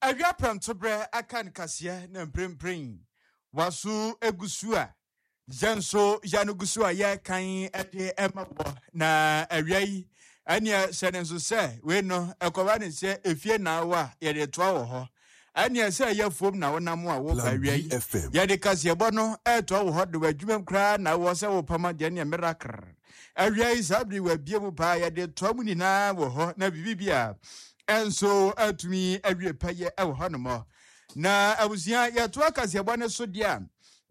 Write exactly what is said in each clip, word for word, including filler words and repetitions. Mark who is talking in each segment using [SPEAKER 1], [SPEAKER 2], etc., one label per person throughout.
[SPEAKER 1] Awia prɛmtoberɛ aka no kaseɛ na mprempren waso egu so a yɛn nso yɛn no gu so a yɛrekan de ɛma wɔ. Na awia yi ɛneɛ hyɛ ne nso sɛ wei no ɛkɔba ne sɛ efie na awɔ a yɛde toa wɔ hɔ, ɛneɛ sɛ ɛyɛ fom na wonam a woba.
[SPEAKER 2] Plan
[SPEAKER 1] awia yi
[SPEAKER 2] B F M.
[SPEAKER 1] Yɛde kaseɛbɔ no ɛɛtoa wɔ hɔ de wɔ adwuma mu koraa na wɔ sɛ wopam adeɛ neɛ miracle awia yi saa bere wabie mu paa, yɛde toa mu nyinaa wɔ hɔ na biribi bi a ɛnso atumi awie pɛyɛ ɛwɔ hɔ nom. Na abusua, yɛtoa kaseɛbɔ no so deɛ a,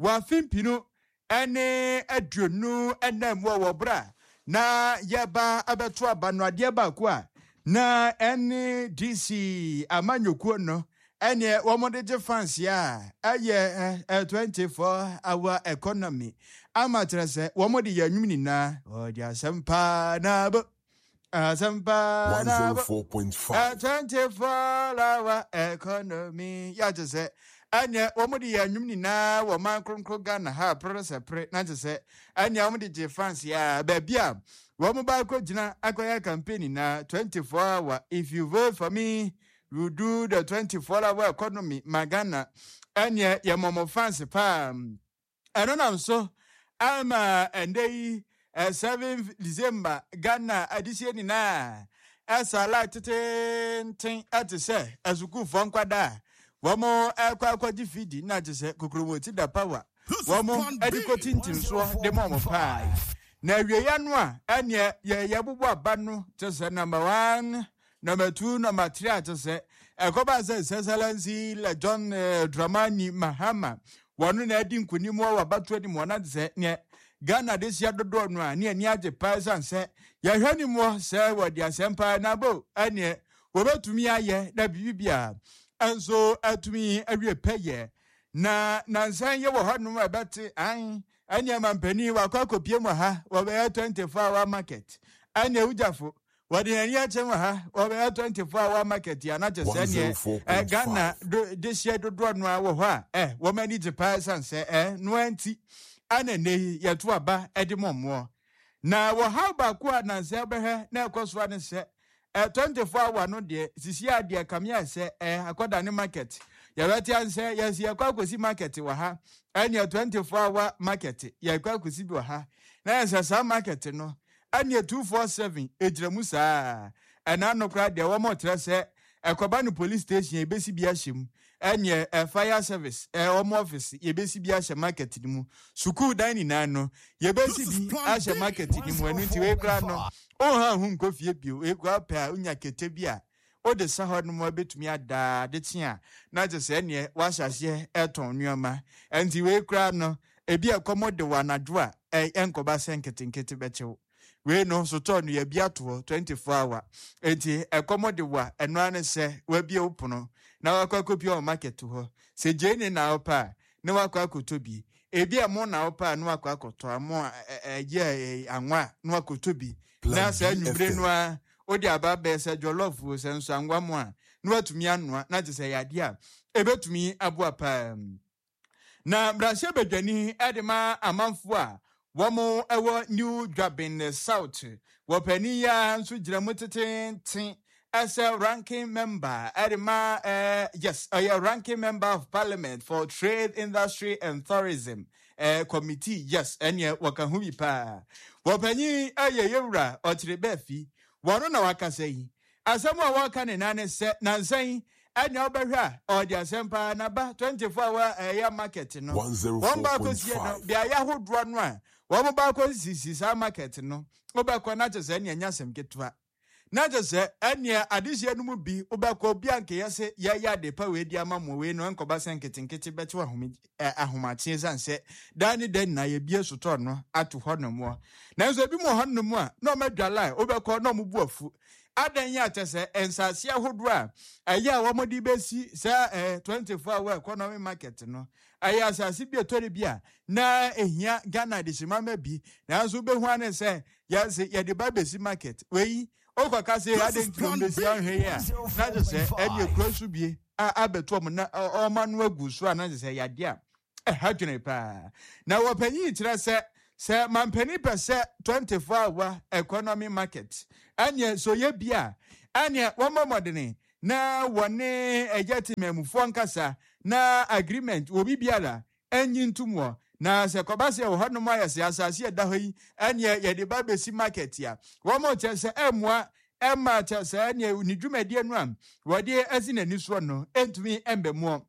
[SPEAKER 1] wɔafe mpinu ɛne aduonu ɛnam mu wɔ berɛ a na yɛba abɛto aba no, adeɛ baako a na ɛne D C amanyɔkuo no ɛneɛ wɔn gye fans a ɛyɛ ɛ twenty-four hour economy ama kyerɛ sɛ wɔn de yɛ nnwom nyinaa ɔde asɛm paa na bo asɛm paa na bo
[SPEAKER 2] one oh four point five.
[SPEAKER 1] twenty-four hour economy yɛagye sɛ ɛneɛ wɔn de yɛ nnwom nyinaa wɔ man kronkron Ghana ha pere sɛ pere na kyerɛ sɛ ɛneɛ wɔn de gye fans a baabi a wɔn ba akɔgyina akɔyɛ campaign nyinaa, twenty-four hour, if you vote for me, you do the twenty-four hour economy ma Ghana. Ɛneɛ yɛ mɔmɔ fans paa. Ɛno nam so ama ɛndɛ yi seven December Ghana adehyɛ nyinaa ɛsa line tetenten ɛte sɛ asukuufoɔ nkwadaa a wɔn ɛkɔ akɔgye fidi na te sɛ kokromoti da power wɔn ɛde kɔ tintim soɔ de ma wɔn paa. Na awieeɛ no a ɛneɛ yɛ yɛbobɔ aba no te sɛ number one, number two, number three a te sɛ ɛkɔba sɛ His Excellency le John eh, Dramani Mahama wɔno na adi nkonim wɔ abatoɔ anim wɔn ade sɛ neɛ Ghana de hyia dodoɔ no a ne ani agye paa ɛsiane sɛ yɛhwɛ ne mu sɛ wɔde asɛm paa na bo ɛneɛ wɔbɛtumi ayɛ na biribi bia ɛnso atumi awie pɛyɛ. Na nansan yɛ wɔ hɔnom a ɛbɛte an ɛneɛ mampanin wakɔ akɔpie mu ha, wɔbɛyɛ twenty-four hour market. Ɛneɛ wogyafo wɔde yɛn ani akyɛ mu ha, wɔbɛyɛ twenty-four hour market yi anakyɛ sɛ neɛ ɛ Ghana do de hyia dodoɔ no a wɔ hɔ a ɛ wɔn ani gye paa ɛsiane sɛ ɛ noa nti ɛna nne yi yɛto aba ɛde mɔmmoɔ. Na wɔhaw baako a nansa bɛhwɛ na ɛkɔ so ne sɛ ɛ twenty-four hour no deɛ sisi adeɛ kamea sɛ ɛ akɔda ne market yɛbɛte ansɛ yɛsi yɛkɔ akɔsi market wɔ ha. Ɛneɛ twenty-four hour market yɛkɔ akɔsi bi wɔ ha na yɛsɛ saa market no ɛneɛ two four seven egyina mu saa. Ɛna no koraa deɛ wɔn kyerɛ sɛ ɛkɔba no police station yɛbɛsi bi ahyɛ mu, ɛneɛ ɛ fire service ɛ wɔn office yɛbɛsi bi ahyɛ market no mu, sukuu dan nyinaa no yɛbɛsi bi ahyɛ market no mu. Ɛno nti wei koraa no ɔnha ho nkɔ fie bio. Wei koraa pɛ a wonya kete bi a wode sa hɔ nom a bɛtumi adaa de kye a na kyerɛ sɛ ɛneɛ wahyɛ aseɛ ɛtɔn nneɛma. Ɛnti wei koraa no ebi a ɛkɔmɔ de wɔ anadwo a ɛ ɛnkɔba sɛ nketenkete bɛkyew. Wei no sotɔɔ no yɛbi ato hɔ twenty-four hour, enti ɛkɔmɔ de wɔ a ɛno ara ne sɛ wabie wo pono na wakɔ akɔpie wɔ market hɔ sɛ gyeene na wopɛ a na wakɔ akɔtɔ bi, ebi a mo na wopɛ a na wakɔ akɔtɔ amo a ɛyɛ anwa a na wakɔtɔ bi na saa anwummere no a wode aba bɛyɛ sɛ jollof o, sɛ nso anwa mo a na watumi anoa na kyerɛ sɛ yɛ adeɛ a ɛbɛtumi aboa paa. Na mmarahyɛ badwani de ma amanfoɔ a wɔn wɔ New Dwabin South, wɔpanin yi a nso gyina mu tetenten ɛsɛ ranking member ɛde ma ɛɛ yes, ɔyɛ ranking member of parliament for Trade, Industry and Tourism ɛɛ committee. Yes, ɛneɛ wɔka ho bi paa. Wɔpanyin ɛyɛ yɛwura ɔkyerɛ bɛɛfi wɔn na wakasa yi. Asɛm a wɔka ne nan ne sɛ nansan ɛnea wobɛhwɛ a ɔde asɛm paa naba twenty-four hour ɛyɛ market no wɔn baako sie no beaeɛ ahodoɔ no a wɔn baako sisi saa market no, wobɛkɔ na kyerɛ sɛ ɛnea ɛnyɛ asɛm ketewa na kyerɛ sɛ ɛnea adehyɛ no mu bi wobɛkɔ obi a nkɛyɛ sɛ yɛyɛ ade pa wei di ama mo. Wei no nkɔba sɛ nketenkete bɛte ahome ahomakye san sɛ daa ne da nyinaa yɛbie sotɔɔ no ato hɔ nom. Nanso ebi mu wɔ hɔ nom a na ɔmo adwa line, wobɛkɔ na ɔmo bu afu adan yi akyɛ sɛ nsase ahodoɔ a ɛyɛ a wɔde bɛsi saa ɛɛ twenty four hour economy market no ɛyɛ asase bi etɔre bi a na ehia Ghana de simama bi, nanso wobɛhu ane sɛ yɛsɛ yɛde ba bɛsi market wei okɔka sɛ ade nti na ɔmbɛsi ahwɛ yi a na kyerɛ sɛ ɛde ekura so bie a abɛto ɔmo na ɔma no agu so a na kyerɛ sɛ yadeɛ a ɛha dwene paa. Na wɔpanyin kyerɛ sɛ sɛ mampanin pɛ sɛ twenty four hour economy market ɛneɛ so yɛ bi a ɛneɛ wɔmmɔ mmɔdene. Na wɔne ɛyɛ temamufoɔ nkasa na agreement obi biara ɛnyi ntom wɔ. Na sɛ kɔba sɛ wɔ hɔnom ayɛ sɛ asase ɛda hɔ yi, ɛneɛ yɛde ba bɛsi market a, wɔn kyerɛ sɛ ɛmmoa ɛma kyerɛ sɛ ɛneɛ ne dwumadie no a wɔde asi n'ani soɔ no ɛntumi ɛmbɛmoɔ.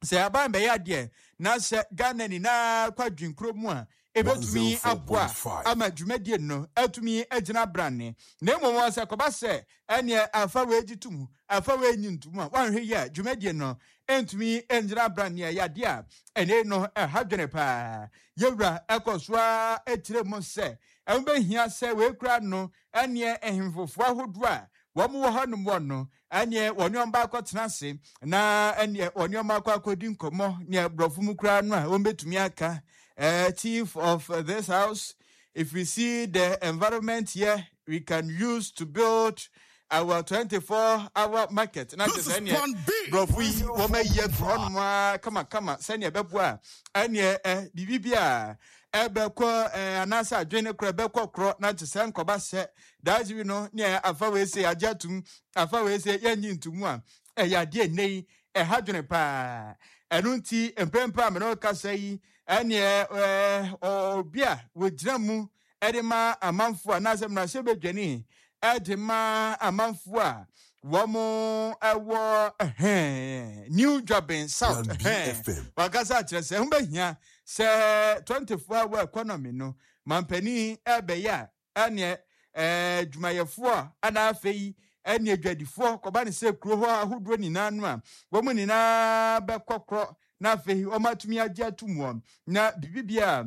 [SPEAKER 1] Sɛ aban bɛyɛ adeɛ na sɛ Ghana nyinaa kɔ adwenkuro mu a, ɛbɛtumi aboa ama dwumadie no atumi agyina brane. Na mmom sɛ kɔba sɛ ɛneɛ afa wei gye to mu, afa wei nyi ntom a, wanhwɛ yi a, dwumadie no ɛntumi ngyina brane. A yɛadeɛ a ɛne no ɛha dwene paa. Yɛwura ɛkɔ so a ɛkyerɛ mu sɛ ɛho bɛhia sɛ wei kura no, ɛneɛ ahemfofoɔ ahodoɔ a wɔn wɔ hɔnom wɔ no, ɛneɛ wɔne wɔn baakɔ tena ase na ɛneɛ wɔne wɔn akɔ akɔdi nkɔmmɔ. Neɛ borɔfo mu koraa no a wɔn bɛtumi aka, uh, "Chief of this house, if we see the environment here, we can use to build our twenty-four hour market." Na kyerɛ sɛ ɛneɛ borɔfo yi wɔn ayi agu hɔnom a kamakama sɛneɛ ɛbɛboa a ɛneɛ ɛ biribi bi a ɛbɛkɔ ɛ anaasɛ adwene korɔ ɛbɛkɔ korɔ. Na kyerɛ sɛ nkɔba sɛ daagye bi no neɛ afa wei se agye atum, afa wei se yɛnyi ntomu a, ɛyɛ adeɛ nnɛ yi ɛha dwene paa. Ɛno nti mprempren a mene kasa yi, ɛneɛ ɛɛ obi a wɔgyina mu ɛde ma amanfoɔ anaasɛ mmarahyɛbadwani ɛde ma amanfoɔ a wɔn ɛwɔ ɛhɛn New Juaben South ɛhɛn wakasa akyerɛ sɛ ɛho bɛhia sɛ twenty four hour economy no mampanin ɛbɛyɛ a, ɛneɛ ɛɛ dwumayɛfoɔ a ɛna afei ɛne adwadifoɔ kɔba ne sɛ kuro hɔ ahodoɔ nyinaa no a, wɔn nyinaa bɛkɔ korɔ na afei wɔn atumi agye atum wɔn na biribi a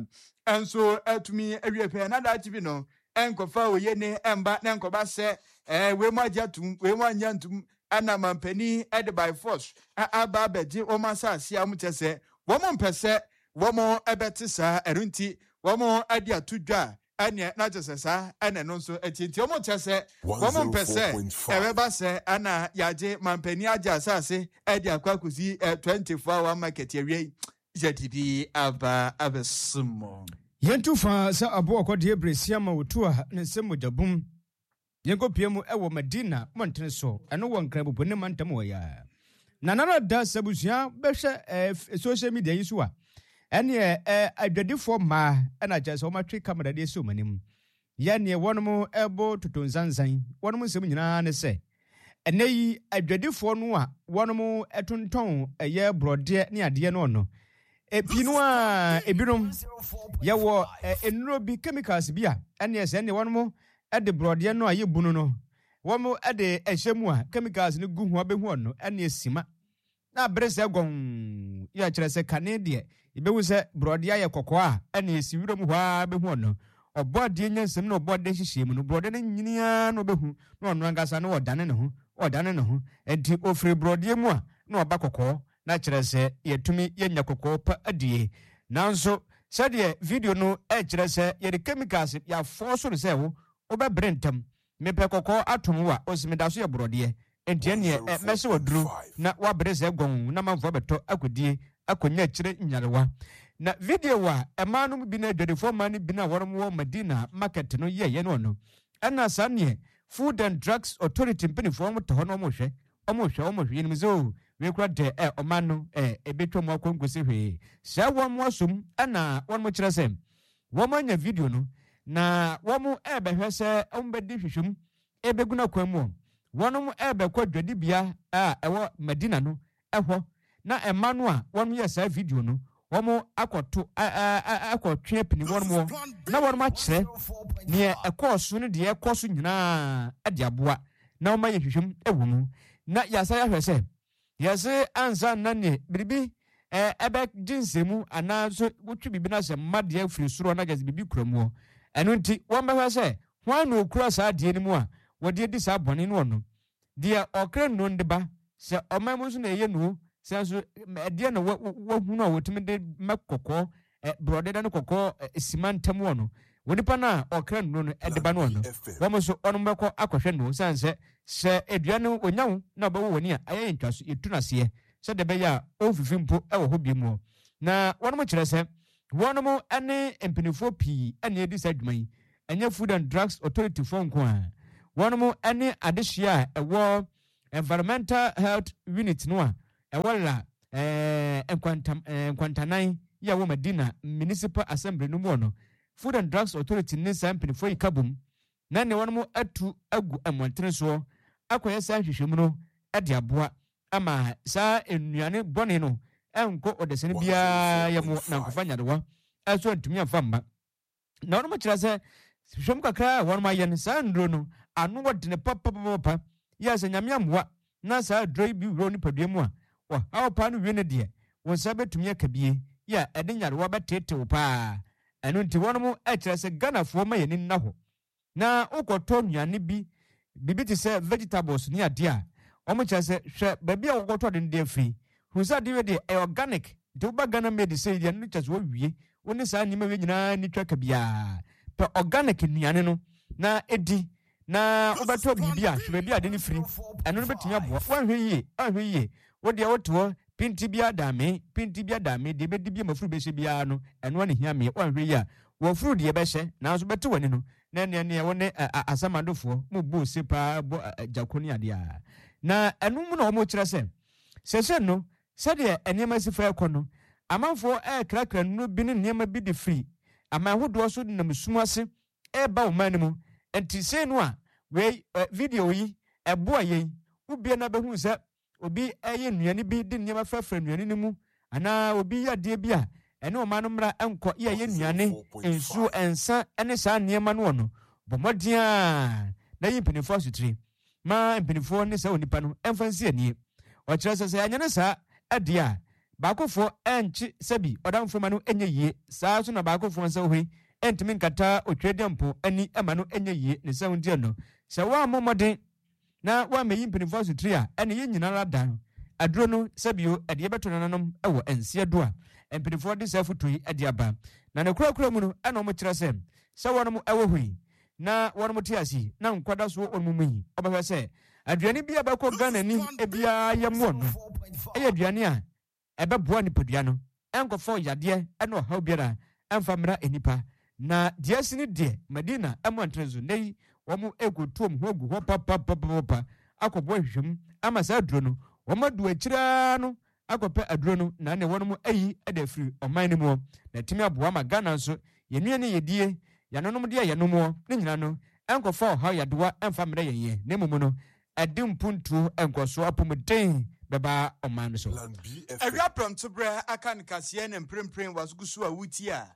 [SPEAKER 1] nso atumi awie pɛɛ. Na daakye bi no ɛnkɔfa oye ne ɛmba na nkɔba sɛ ɛɛ wei mu agye atum, wei mu anya ntum, ɛna mampanin ɛde by force aba abɛgye wɔn asase a wɔn kyɛ sɛ wɔn mpɛ sɛ wɔn ɛbɛte saa. Ɛno nti wɔn ɛde ato dwa a, ɛneɛ na kyerɛ sɛ saa ɛna ɛno nso akyi nti wɔn kyerɛ sɛ wɔn mpɛ sɛ ɛbɛba sɛ ɛna yɛagye mampanin agye asase ɛde akɔ akɔsi ɛ twenty four hour market awie yi, yɛde bi aba abɛsom.
[SPEAKER 2] Yɛntu fa sɛ aboa ɔkɔdeɛ berɛsia ma wɔtu a ne nsɛm mogya bum. Yɛnkɔpie mu ɛwɔ Madina mmɔntene so, ɛno wɔ Nkranpopo ne mantam wɔ yɛ na nana da sɛ abusua bɛhwɛ ɛɛ social media yi so a, ɛneɛ ɛɛ adwadifoɔ mmaa ɛna kyerɛ sɛ wɔatwe camera de asi wɔn anim yɛ neɛ wɔnom ɛbɔ toto nsansan. Wɔnom nsɛm nyinaa ne sɛ ɛnɛ yi adwadifoɔ no a wɔnom ɛtontɔn ɛyɛ borɔdeɛ ne adeɛ no no pii no a, ebinom yɛwɔ nnuro bi, chemicals bi a ɛneɛ sɛ ɛneɛ wɔnom ɛde borɔdeɛ no a yɛ bunu no, wɔn ɛde ɛhyɛ mu a, chemicals no gu ho abɛhu ɔno ɛneɛ sima na abere sɛ gɔn yɛ kyerɛ sɛ kane deɛ yɛbɛhu sɛ borɔdeɛ ayɛ kɔkɔɔ a, ɛne esi wura mu hɔ a bɛhu ɔno ɔbɔ adeɛ nyansam na ɔbɔ adeɛ hyehyɛ mu no, borɔdeɛ no nyinaa na ɔbɛhu na ɔno ankasa na ɔdane ne ho ɔdane ne ho Nti ofiri borɔdeɛ mu a na ɔba kɔkɔɔ, na kyerɛ sɛ yɛtumi yɛnya kɔkɔɔ pa adie. Nanso sɛdeɛ video no ɛkyerɛ sɛ yɛde chemicals yɛafɔ so no sɛ wo wobɛbere ntɛm, mepɛ kɔkɔɔ atom wo a ɔsi meda so yɛ borɔdeɛ, nti ɛneɛ mɛsɛ waduro na wabere sɛ gɔn na manfoɔ bɛtɔ akɔdie akɔnya akyire nyarewa. Na video a ɛmaa no bi no, adwadifoɔ mmaa no bi no a wɔn wɔ Madina market no yɛyɛ no no, ɛna saa neɛ Food and Drugs Authority mpanimfoɔ wɔn te hɔ na wɔn hwɛ wɔn hwɛ wɔn hwɛ yɛnim sɛ o wei kura dɛ ɛ ɔman no ɛ ebetwa mu akɔ nkosi hwee sɛ wɔn asom. Ɛna wɔn kyerɛ sɛ wɔn anya video no na wɔn ɛrebɛhwɛ sɛ wɔn bɛdi hwehwɛmu ebegu n'akwan mu. Wɔn ɛrebɛkɔ dwadibea a ɛwɔ Madina no ɛhɔ na ɛma no a wɔn yɛ saa video no, wɔn akɔto akɔtwe apini wɔn wɔ na wɔn akyerɛ neɛ ɛkɔɔ so ne deɛ ɛkɔ so nyinaa ɛde aboa na wɔn ayɛ hwehwɛmu ɛwɔ mu. Na yasa yɛahwɛ sɛ yɛse ansa na neɛ biribi ɛɛ ɛbɛgye nsɛmu anaa nso wotwi biribi na sɛ mma deɛ firi soro na gyesɛ biribi kura mu hɔ. Ɛno nti wɔn bɛhwɛ sɛ wɔn na okura saa adeɛ no mu a wɔde adi saa bɔne no. Ɔno deɛ ɔkra nnuro de ba sɛ ɔman mu nso na ɛyɛ nuo sɛ nso ɛdeɛ na wahunu a wɔtumi de mɛ kɔkɔɔ ɛ borɔde da no kɔkɔɔ ɛ sima ntam wɔ no wɔ nipa no a ɔkra nnuro no ɛde ba no. Ɔno wɔn nso wɔn bɛkɔ akɔhwɛ no san sɛ sɛ edua no onya wo na ɔbɛwɔ wɔ ni a ayɛ yɛ ntwa so yɛtu n'aseɛ sɛdeɛ ɛbɛyɛ a ɔnfifi mpo ɛwɔ hɔ bi mu. Na wɔn kyerɛ sɛ wɔn ne mpanimfoɔ pii ɛna edi saa adwuma yi, ɛnyɛ Food and Drugs Authority foɔ nko a, wɔn ne adehyia a ɛwɔ Environmental Health Unit no a ɛwɔ La ɛɛ Nkwantam ɛɛ Nkwantanan yi a wɔ Madina Municipal Assembly no mu wɔ no, Food and Drugs Authority ne saa mpanimfoɔ yi ka bom na ne wɔn atu agu mmɔntene soɔ akɔyɛ saa nhwehwɛmu no de aboa ama saa nnuane bɔne no ɛnkɔ ɔdasani biara yɛ mu na nkɔfa nyarewa ɛso ntumi amfa mma. Na wɔn kyerɛ sɛ hwehwɛmu kakra a wɔn ayɛ no, saa nnuro no ano wɔdene papapapa yɛ sɛ Nyame amoa na saa aduro yi bi wura nipadua mu a, wɔhaw paa no wie no deɛ, wɔn nsa bɛtumi aka bie yɛ a ɛde nyarewa bɛteetew paa. Ɛno nti wɔn kyerɛ sɛ Ghanafoɔ ma yɛni nna hɔ na wokɔtɔ nnuane bi, biribi te sɛ vegetables ne adeɛ a, wɔn kyerɛ sɛ hwɛ baabi a wɔkɔtɔ de no de afiri, hu sɛ adeɛ wei deɛ ɛyɛ organic. Nti woba Ghana Made sɛ deɛ no kyerɛ sɛ wɔwie wo ne saa nneɛma wei nyinaa ni twa ka biara. Pɛ organic nnuane no na ɛdi, na wobɛtɔ biribi a, hwɛ baabi a ade no firi. Ɛno no bɛtumi aboa. Woanhwɛ yie, woanhwɛ yie, wo deɛ wote hɔ pinti bi adame, pinti bi adame, deɛ bɛdi bi a mafuru bɛhyɛ biara no, ɛno ana hia meɛ. Woanhwɛ yie a, wɔfuru deɛ bɛhyɛ, nanso bɛte w'ani no na neɛ neɛ wo ne asamadofoɔ mo bɔ ose paa bɔ gyako ne adeɛ a. Na ɛno mu na wɔn kyerɛ sɛ sɛsɛ no, sɛdeɛ nneɛma si fa ɛkɔ no, amanfoɔ ɛrekrakra nnuro bi ne nneɛma bi de firi aman ahodoɔ so nam sum ase ɛreba ɔman no mu. Nti sei no a wei video yi ɛboa yɛn, wobie na bɛhu sɛ obi ɛyɛ nnuane bi de nneɛma frafra nnuane no mu, anaa obi yɛ adeɛ bi a ɛne ɔman no mmara nkɔ yɛ ɛyɛ nnuane, nsuo, nsa ne saa nneɛma no wɔ no, bɔ mmɔden a na yi mpanimfoɔ asotire ma mpanimfoɔ ne saa onipa no ɛmfa nsi anie. Ɔkyerɛ sɛ sɛ yɛanyɛ no saa adeɛ a, baakofoɔ ɛnkye sɛbi ɔdamfo ma no ɛnyɛ yie. Saa nso na baakofoɔ nsa hɔ yi ɛntumi nkata otwedeɛmpo ani ɛma no ɛnyɛ yie. Ne sɛ nti no, sɛ woammɔ mmɔden na woammɛyi mpanimfoɔ asotire a, ɛne yɛn nyinara da no aduro no sɛbio ɛde yɛbɛto nananom ɛwɔ nseɛ do a mpanimfoɔ de saa foto yi ɛde aba. Na ne korakora mu no, ɛna wɔn kyerɛ sɛ sɛ wɔn ɛwɔ hɔ yi na wɔn te ase yi na nkwada so wɔn mu yi, ɔbɛhwɛ sɛ aduane bi a bɛkɔ Ghana ni ebiara yɛ mmoɔ no ɛyɛ aduane a ɛbɛboa nipadua no, ɛnkɔfɔ yadeɛ ɛne ɔhaw biara ɛmfa mmra nipa. Na deɛ asi ne deɛ Madina mmɔntene so nnɛ yi, wɔn ɛkɔtu wɔn ho agu hɔ papapapapa akɔboa hwehwɛmu ama saa aduro no wɔn adu akyire no akɔpɛ aduro no na ne wɔn ayi de afiri ɔman no mu, na ɛtumi aboa ma Ghana nso yɛn nnuane yɛdie, yɛnonom deɛ yɛnomoɔ ne nyinaa no ɛnkɔfa ɔhaw yadewa ɛmfa mmerɛ yɛn yɛ, na mmom no ɛde mpuntuo nkɔsoɔ apɔmuden bɛba ɔman no so.
[SPEAKER 1] Awia prɔmtoberɛ aka no kaseɛ ne mprempren waso so a wotie a,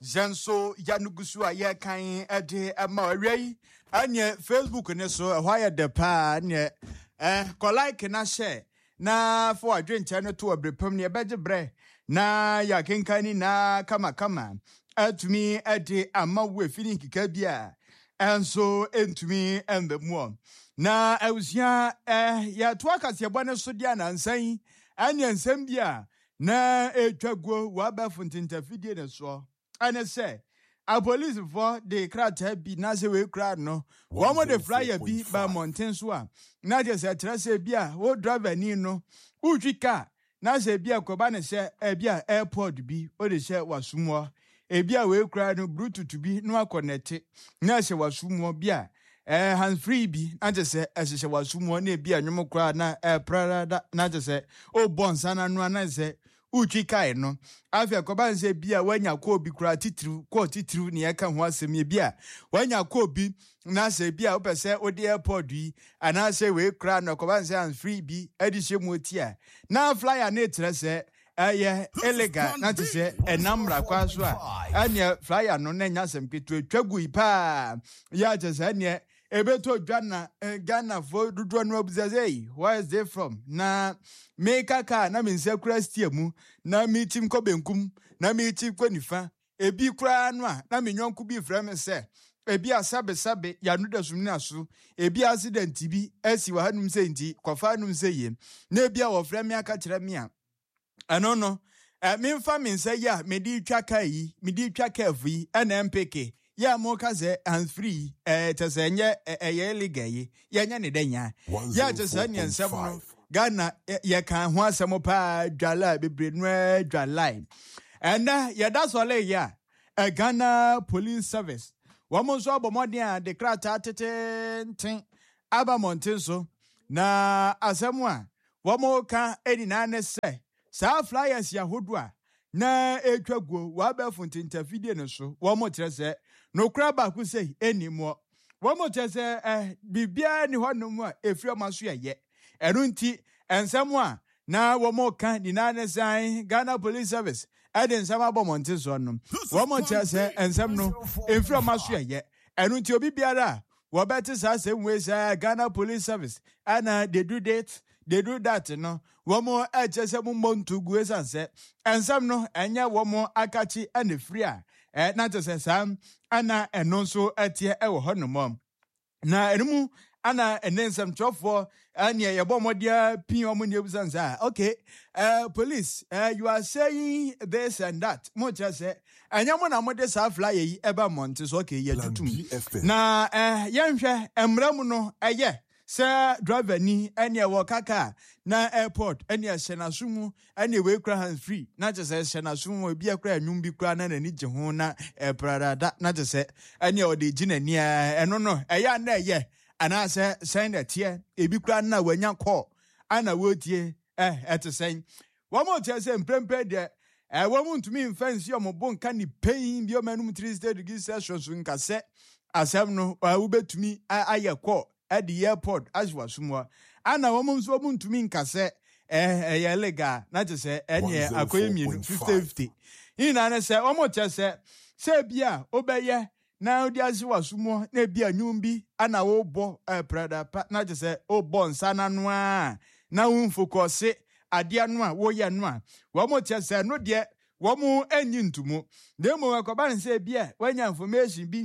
[SPEAKER 1] yɛn nso yɛano gu so a yɛkan de ma awia yi. Ɛneɛ Facebook ne so ɛhɔ ayɛ dɛ paa. Neɛ eh, kɔ like na hyɛ na fa wadwenkyerɛ no to ɔbere pam ne yɛbɛgye berɛ na yɛakenkan ne nyinaa kamakama atumi de ama wo efi ne nkeka bi a ɛnso ntumi mba mu. Na abusua, eh, yɛto akaseɛbɔ ne so deɛ anansa yi, ɛne nsɛm bi a na ɛtwa guo wɔ abɛɛfo ntentafidie ne soɔ ɛne sɛ apolisifoɔ de krataa bi na sɛ wei kura no, wɔn de flyer bi ba mmɔnten so a na kyerɛ sɛ kyerɛ sɛ bi a wo driver ni no wotwi kaa na sɛ bi a kɔba ne sɛ ebi a airpod bi wode hyɛ w'asomuɔ, ebi a wei kura no Bluetooth bi na wakɔ nɛte na ɛhyɛ w'asomuɔ bi a ɛɛ hands free bi na kyerɛ sɛ ɛhyehyɛ w'asomuɔ, na ebi a nnwom koraa na ɛɛprada na kyerɛ sɛ ɔrebɔ nsa n'ano a na kyerɛ sɛ wotwi kae no. Afei ɛkɔba ne sɛ bi a woanya kɔɔ bi koraa titiriw, kɔɔ titiriw ne yɛka ho asɛm yi, bi a woanya kɔɔ bi na sɛ bi a wopɛ sɛ wode airpod yi anaasɛ wei koraa no ɛkɔba ne sɛ hands free bi de hyɛ mu oti a, na flyer ne kyerɛ sɛ ɛyɛ illegal na te sɛ ɛnam mmara kwan so a, ɛneɛ flyer no na ɛnya asɛm ketewa twa gu yi paa yɛ akyɛ sɛ ɛneɛ ɛbɛtɔ dwa na Ghanafoɔ dodoɔ no abusa sɛ, "Hey, where is it from?" Na meka kaa na me nsa kura steer mu na mekyim kɔ benkum na mekyim kɔ nifa, ebi koraa no a na me nyɔnko bi frɛ me sɛ ebi a sɛbesɛbe yɛano da sum no aso, ebi accident bi asi wɔ hanom sɛ nti kɔfa hanom sɛ yie, na ebi a wɔfrɛ me aka kyerɛ me a ɛno no ɛ memfa me nsa yi a mede twa kaa yi, mede twa curve yi, ɛna mpeke yɛ a moka sɛ hands free yi ɛɛ kyɛ sɛ ɛnyɛ ɛyɛ illegal yi, yɛnyɛ ne dɛ nya yɛ a kyɛ sɛ neɛ nsɛm no Ghana yɛka ho asɛm paa dwala bebree no dwala. Ɛnɛ yɛda sɔle yi a, Ghana Police Service wɔn nso abɔ mmɔden a de krataa tetenten aba mmɔnten so Na asɛm a wɔn ka nyinaa ne sɛ saa flyers ahodoɔ a na ɛtwa guo wɔabɛfo ntentafidie no so, wɔn kyerɛ sɛ nokora baako sɛ ɛni muɔ. Wɔn kyerɛ sɛ ɛ biribiara ni hɔnom a ɛfiri ɔma so yɛyɛ ɛno nti nsɛm a na wɔn ka nyinaa ne sɛn Ghana Police Service ɛde nsɛm abɔ mmɔnten soɔ no, wɔn kyerɛ sɛ nsɛm no ɛmfiri ɔma so yɛyɛ. Ɛno nti obi biara a wɔbɛte saa asɛm wei sɛ Ghana Police Service ɛna they do this, they do that no, wɔn ɛkyɛ sɛ mo mmɔ nto gu, esan sɛ nsɛm no ɛnyɛ wɔn akakye ɛna firi a ɛ na kyerɛ sɛ saa ɛna ɛno nso ɛteɛ ɛwɔ hɔnom. Na ɛno mu ana ɛne nsɛmtwerɛfoɔ ɛneɛ yɛbɔ mmɔdeɛ pii ɔmo ne ebusa nsa, "Okay, uh, police, uh, you are saying this and that, mo kyerɛ sɛ ɛnyɛ mo na mo de saa flyer yi ɛba mmɔnten so. Okay, yɛ tutum na uh, yɛnhwɛ mmerɛ mu no, ɛyɛ sɛ driver ni ɛne ɛwɔ kaka na airpod ɛne ɛhyɛ n'aso mu, ɛne wei kura hands free na kyerɛ sɛ ɛhyɛ n'aso mu, ebi akura nnwom bi kura na n'ani gye ho na ɛpradada na kyerɛ sɛ ɛne ɔde gyi n'ani ɛno no ɛyɛ ana ɛyɛ anaasɛ sɛn na ɛteɛ? Ebi kura na wanya kɔɔ ana wɔretie ɛ ɛte sɛn?" Wɔn mo kyerɛ sɛ mprempren deɛ ɛ wɔn mo ntumi nfa nsi wɔn bo nka ne pɛn bi wɔn anum three sixty degrees Celsius nka sɛ asɛm no ɛ wobɛtumi ayɛ kɔɔ ɛde airpod ahyɛ w'asom hɔ, ana wɔn nso wɔn ntumi nka sɛ ɛ ɛyɛ legal na kyerɛ sɛ ɛneɛ akɔyɛ mmienu fifty fifty. Nyinaa ne sɛ wɔn kyerɛ sɛ sɛ ebi a wobɛyɛ na wode ahyɛ w'asom hɔ na ebi a nnwom bi ana wobɔ ɛpradapa na kyerɛ sɛ wobɔ nsa n'ano a na womfokɔse adeɛ no a woyɛ no a, wɔn kyerɛ sɛ no deɛ wɔn anyi ntomu, na mmom ɛkɔba ne sɛ ebi a wanya information bi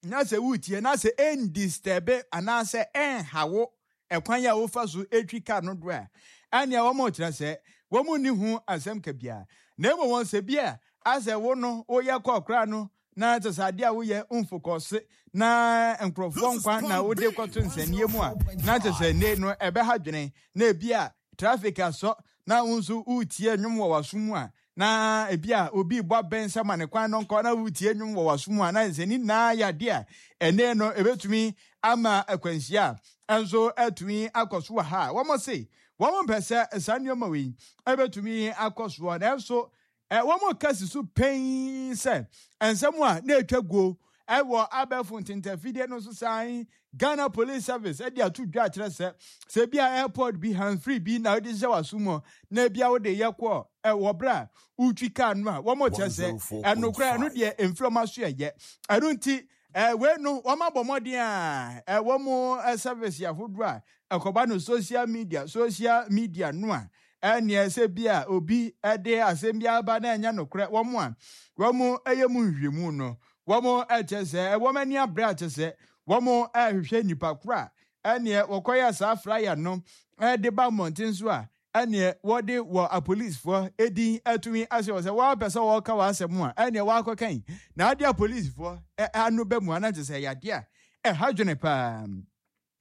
[SPEAKER 1] na sɛ wotie na sɛ ɛndisturb anaasɛ ɛnhawo ɛkwan a wofa so etwi car no do a, ɛnea wɔn kyerɛ sɛ wɔn nni ho asɛm ka biara. Na mmom wɔn sɛ bi a asɛ wo no woyɛ kɔɔ koraa no na kyerɛ sɛ adeɛ a woyɛ mfokɔse na nkurɔfoɔ nkwa na wode kɔto nsɛnniɛ mu a, na kyerɛ sɛ ne no ɛbɛha dwene, na ebi a traffic asɔ na wo nso wotie nnwom wɔ w'aso mu a, na ebi a obi bɔ abɛn sɛ ma ne kwan no nkɔ na wotie nnwom wɔ w'aso mu a, na sɛ ne nyinaa yɛ adeɛ a ɛnɛ no ebetumi ama akwanhyia a nso atumi akɔ so wɔ ha a, wɔn se wɔn mpɛ sɛ saa nneɛma wei ebetumi akɔ soɔ. Nanso ɛ wɔn kasi so pɛn sɛ nsɛm a na etwa guo ɛwɔ abɛɛfo ntentafidie no nso san Ghana Police Service ɛde ato dwa akyerɛ sɛ sɛ bi a airpod bi, handfree bi na wɔde hyɛ w'aso mu na ebi a wɔde yɛ kɔ ɛwɔ berɛ a wotwi kaa no a, wɔn kyerɛ sɛ ɛnokora ɛno deɛ mfiri wɔn aso yɛ. Ɛno nti ɛɛ wei no wɔn abɔ mmɔden a ɛwɔ mo service ahodoɔ a ɛkɔba no social media social media no a, ɛneɛ sɛ bi a obi ɛde asɛm bi aba na ɛnyɛ nokorɛ, wɔn a wɔn ɛyɛ mu nhwehwɛmu no, wɔn ɛkyɛ sɛ wɔn ani abere akyɛ sɛ wɔn ɛrehwehwɛ nipa koro a ɛneɛ wɔkɔyɛ saa flyer no ɛde ba mmɔnten so a ɛneɛ wɔde wɔ apolisifoɔ edin atumi ahyɛ wɔ sɛ wɔapɛ sɛ wɔka wɔn asɛm a ɛneɛ wɔakɔkan na ade apolisifoɔ ɛ ano bɛ mu anakyɛ sɛ yadeɛ a ɛha dwene paa.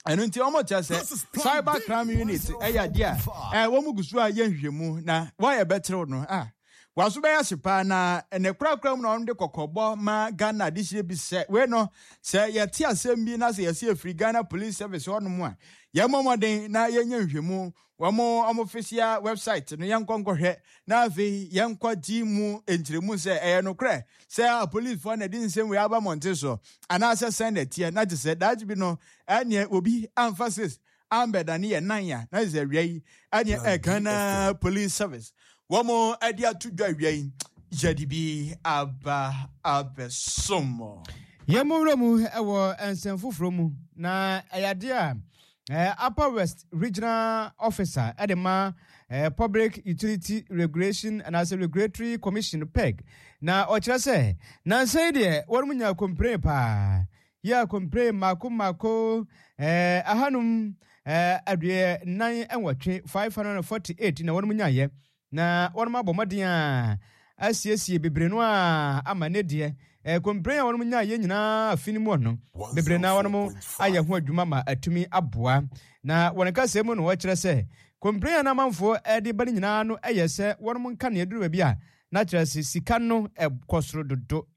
[SPEAKER 1] Ɛno nti wɔn kyerɛ sɛ cyber crime unit ɛyɛ adeɛ a ɛ wɔn gu so a yɛ nhwehwɛmu na wɔayɛ bɛkyerɛw no a waso bɛyɛ ase paa. Na ne korakora mu na wɔn de kɔkɔbɔ ma Ghana adehyɛ bi sɛ wei no sɛ yɛte asɛm bi na sɛ yɛsi efiri Ghana Police Service hɔnom a, yɛmmɔ mmɔden na yɛnyɛ nhwehwɛmu wɔn wɔn official website no, yɛnkɔ nkɔhwɛ na afei yɛnkɔ gye mu nkyerɛmu sɛ ɛyɛ nokorɛ sɛ apolisifoɔ na ɛde nsɛm wei aba mmɔnten so anaasɛ sɛn na ɛteɛ, na kyerɛ sɛ daakye bi no ɛneɛ obi amfa sis ambɛdane yɛ nan a na kyerɛ sɛ awia yi ɛneɛ ɛ Ghana Police Service wɔn ɛde ato dwa awia yi yɛde bi aba abɛsom.
[SPEAKER 2] Yɛn mo wura mu wɔ nsɛm foforɔ mu na ɛyɛ adeɛ a eh, Upper West Regional Officer ɛde ma eh, Public Utility Regulation anaasɛ Regulatory Commission, P E R C, na ɔkyerɛ sɛ nansa yi deɛ wɔn mu nya complain paa yɛ complain mako mako eh, ahanum eh, aduɛ nan nwɔtwe, five hundred and forty-eight, na wɔn mu nyaayɛ na wɔn abɔ mmɔden a asiesie bebree no a ama ne deɛ eh, complain a wɔn nyaayɛ nyinaa afi no mu no bebree na wɔn ayɛ ho adwuma ma atumi aboa. Na wɔn kasa mu no wɔkyerɛ sɛ complain a n'amanfoɔ de ba no nyinaa no yɛ sɛ wɔn nka nea duru baabi a na kyerɛ sɛ sika no ɛkɔ soro dodo.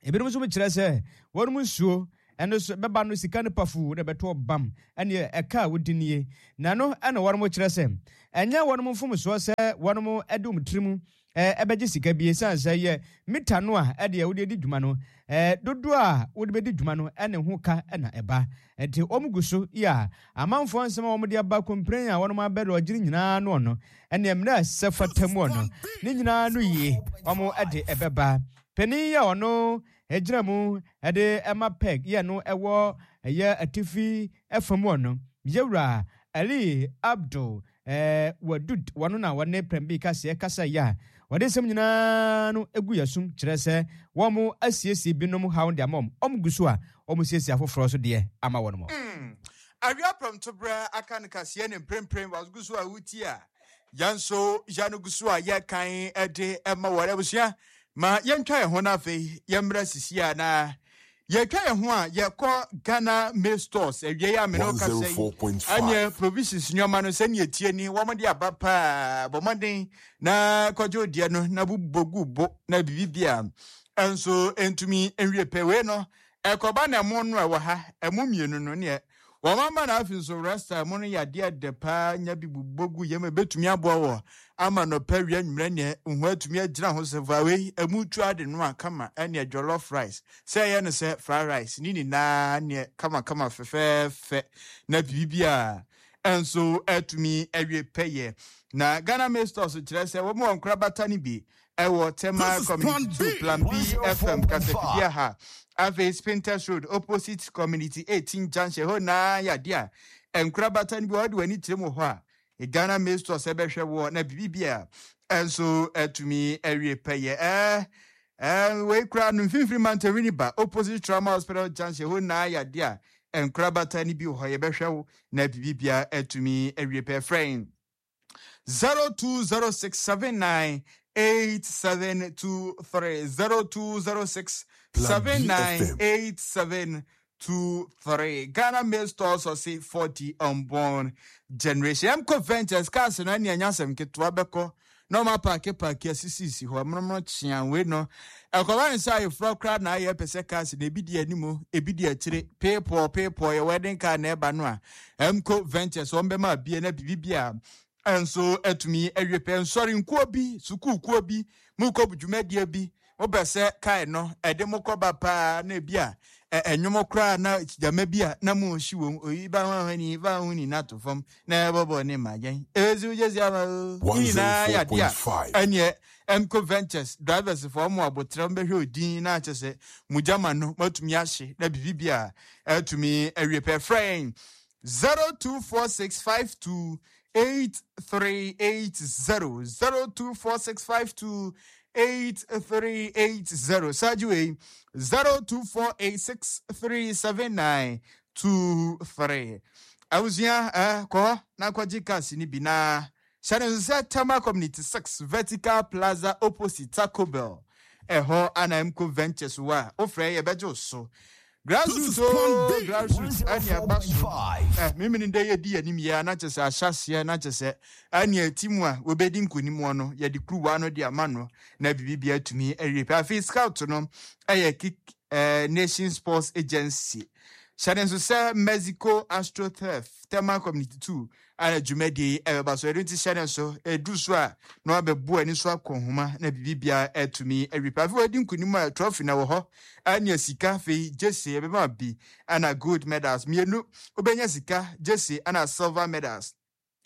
[SPEAKER 2] Ebinom nso kyerɛ sɛ wɔn nsuo Ɛno so bɛba no sika no pafuu na ɛbɛto bam ɛne ɛka a wodi nie. Na no ɛna wɔn kyerɛ sɛ ɛnyɛ wɔn mfomsoɔ sɛ wɔn de wɔn tirim ɛbɛgye sika bi, ɛsiane sɛ yɛ mita no a ɛdeɛ wode di dwuma no, ɛɛ dodoɔ a wode bɛdi dwuma no ɛne ho ka ɛna ɛba. Nti wɔn gu so yi a amanfoɔ nsɛm a wɔn de aba complain a wɔn abɛdɔ ɔgyere nyinaa no no ɛne mmerɛ a sɛ fata mu no ne nyinaa no yie wɔn ɛde ɛbɛba. Panin yi a ɔno ɛgyina mu ɛde ɛma peg yɛ no ɛwɔ ɛyɛ atifi ɛfam hɔ no, yɛwura Ali Abdul ɛɛ Wadud, wɔno na wɔne Prɛmbi kaseɛ kasa yi a wɔde nsɛm nyinaa no egu yɛ sum kyerɛ sɛ wɔn asiesie binom haw de ama wɔn, wɔn gu so a wɔn siesie afoforɔ so deɛ ama wɔn mo.
[SPEAKER 1] Awia prɔmtoberɛ aka no kaseɛ ne mprempren wagu so a wotie a yɛn nso yɛn gu so a yɛkan de ma wɔn. Abusua, ma yɛntwa yɛn ho no afei yɛmmrɛ sisi a na yɛtwa yɛn ho a yɛkɔ Ghana May Stores awie yi a mene wo kasa yi ɛneɛ provisions nneɛma no sɛneɛ tie ni wɔn de aba paa. Bɔ mmɔden na kɔgye odiɛ no na bobɔ gu bo na biribi a ɛnso ntumi nwie pɛ. Wei no ɛkɔba na ɛmo no ɛwɔ ha ɛmo mmienu no neɛ wɔn ama na afei nso rasta ɛmo no yɛ adeɛ dɛ paa, nya bi bobɔ gu yam ebetumi aboa wɔ ama nɔpɛ wia nwummerɛ neɛ nho atumi agyina ho sɛ fa wei ɛmu tu ade no a kama ɛneɛ jollof rice sɛ ɛyɛ no sɛ fried rice ne nyinaa neɛ kamakama fɛfɛɛfɛ na biribi a ɛnso atumi awie pɛyɛ. Na Ghana May Stores kyerɛ sɛ wɔn wɔ nkorabata no bi ɛwɔ Tema Community two, Plan B F M kasafidie ha, afei Spintex Road opposite Community eighteen junction hɔ naa yɛ adeɛ a nkorabata no bi wɔde wɔn ani kyerɛ mu hɔ a Ghana May Stores ɛbɛhwɛ wɔ na biribi a ɛnso atumi awie pɛyɛ. ɛɛ ɛɛ wei kura no mfimfini Mantawini ba opposite Trauma Hospital junction hɔ naa yɛ adeɛ a nkorabata no bi wɔ hɔ, yɛbɛhwɛ wo na biribi a atumi awie pɛ. Frɛn zero two zero six seven nine eight seven two three, zero two zero six seven nine eight seven two three. Ghana Mail Stores ɔse forty unborn generation. Mco Ventures cars no ɛne ɛnya asɛm ketewa bɛkɔ na ɔma park park asisisi hɔ mmonomono kyea. Wei no ɛkɔba ne sɛ ayeforɔ koraa na ayɛ pɛ sɛ cars na ebi di anim, ebi di akyire peepɔɔ peepɔɔ yɛ wedding car na ɛba no a Mco Ventures wɔn bɛma abie na biribi bi a nso atumi awie pɛ. Nsɔre nkuo bi, sukuukuo bi mokɔ dwumadie bi, mopɛ sɛ kae no ɛde mo kɔba paa na ebi a ɛnwom koraa na gyama bi a na mo hyi wɔm oyi ba ho ahoni ba ho ni nato fam na ɛbɔbɔ ne ma yɛn ezi gyesi ama o ne nyinaa yɛ adeɛ a ɛneɛ Mco Ventures drivers fo ɔmo abotire bɛhwɛ odin na akyɛ sɛ mo gyama no matumi ahye na biribi bi a ɛtumi awie pɛ. Frɛn zero two four six five two eight three eight zero, zero two four six five two eight three eight zero. Saji zero two four eight six three seven nine two three. Abusua, eh, kɔ na kɔgye cars ni bi na hyɛ ne nso sɛ Tema Community six, Vertical Plaza opposite Taco Bell ɛhɔ ana Mco Ventures wɔ a wofrɛ yɛbɛgye wo so. Grassroots o, grassroots ɛne ɛba so ɛ mímini dɛ yɛdi anim yɛ na kyɛ sɛ ahyɛseɛ na kyɛ sɛ ɛne ɛti mu a wɔbɛdi nkonim wɔ no, yɛde kuruwa no de ama no na biribi bi atumi awie pɛ. Afei scout no ɛyɛ Kick ɛɛ Nation Sports Agency. Hyɛ ne nso sɛ Mexico AstroTurf, Tema Community two ana dwumadie yi ɛbɛba so. Ɛno nti hyɛ ne nso ɛduru so a na wabɛbu ani so akɔ nhoma na biribi biara atumi awie pɛ. Afei wɔadi nkonim a trophy na wɔ hɔ ɛne sika, afei jersey ɛbɛma bi ɛna gold medals mmienu wobɛnya sika, jersey ɛna silver medals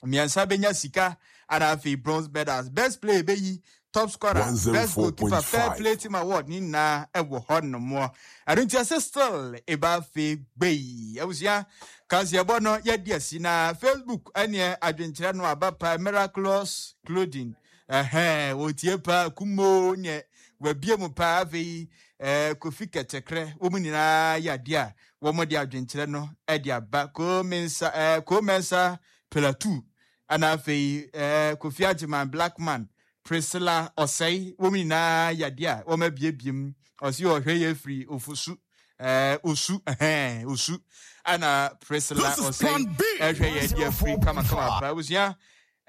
[SPEAKER 1] mmiɛnsa bɛnya sika ɛna afei bronze medals. Best player bɛyi top scorer, best goalkeeper, fair play team award ne nyinaa ɛwɔ hɔ nomoɔ. Ɛno nti ɛsɛ still ɛba afei gbei. Abusua, kaseɛbɔ no yɛdi asi na Facebook ɛneɛ adwenkyerɛ no aba pa. Miraculous Clothing ɛhɛn wɔtie paa, kumo neɛ wabie mu paa. Afei ɛɛ Kofi Kɛkyɛkrɛ, wɔn nyinaa yɛ adeɛ a wɔn de adwenkyerɛ no ɛde aba. Komensa ɛɛ Komensa Pelatu ɛna afei ɛɛ Kofi Agyeman, Blackman, Priscilla Ɔsɛe, wɔn nyinaa yɛ adeɛ a wɔn abiebie mu. Ɔsi ɔhwɛ yɛ firi Ofusu ɛɛ Osu ɛhɛn Osu ɛna Priscilla Ɔsɛe ɛhwɛ yɛ deɛ firi kamakama paa. Abusua,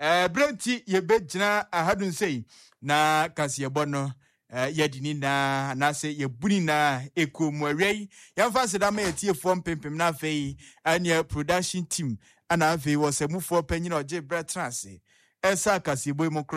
[SPEAKER 1] ɛɛ berɛ nti yɛbɛgyina ahadu nsɛyi na kaseɛbɔ no. Yɛde ne nyinaa anaasɛ yɛbu ne nyinaa ɛkuo mu. Awia yi, yɛmfa aseda ma yɛtiefoɔ mpempem, no afei ɛneɛ production team, ana afei wɔ sɛ mufoɔ panyin a ɔgye berɛ tena ase ɛsa akaseɛbɔ yi mu korɔ.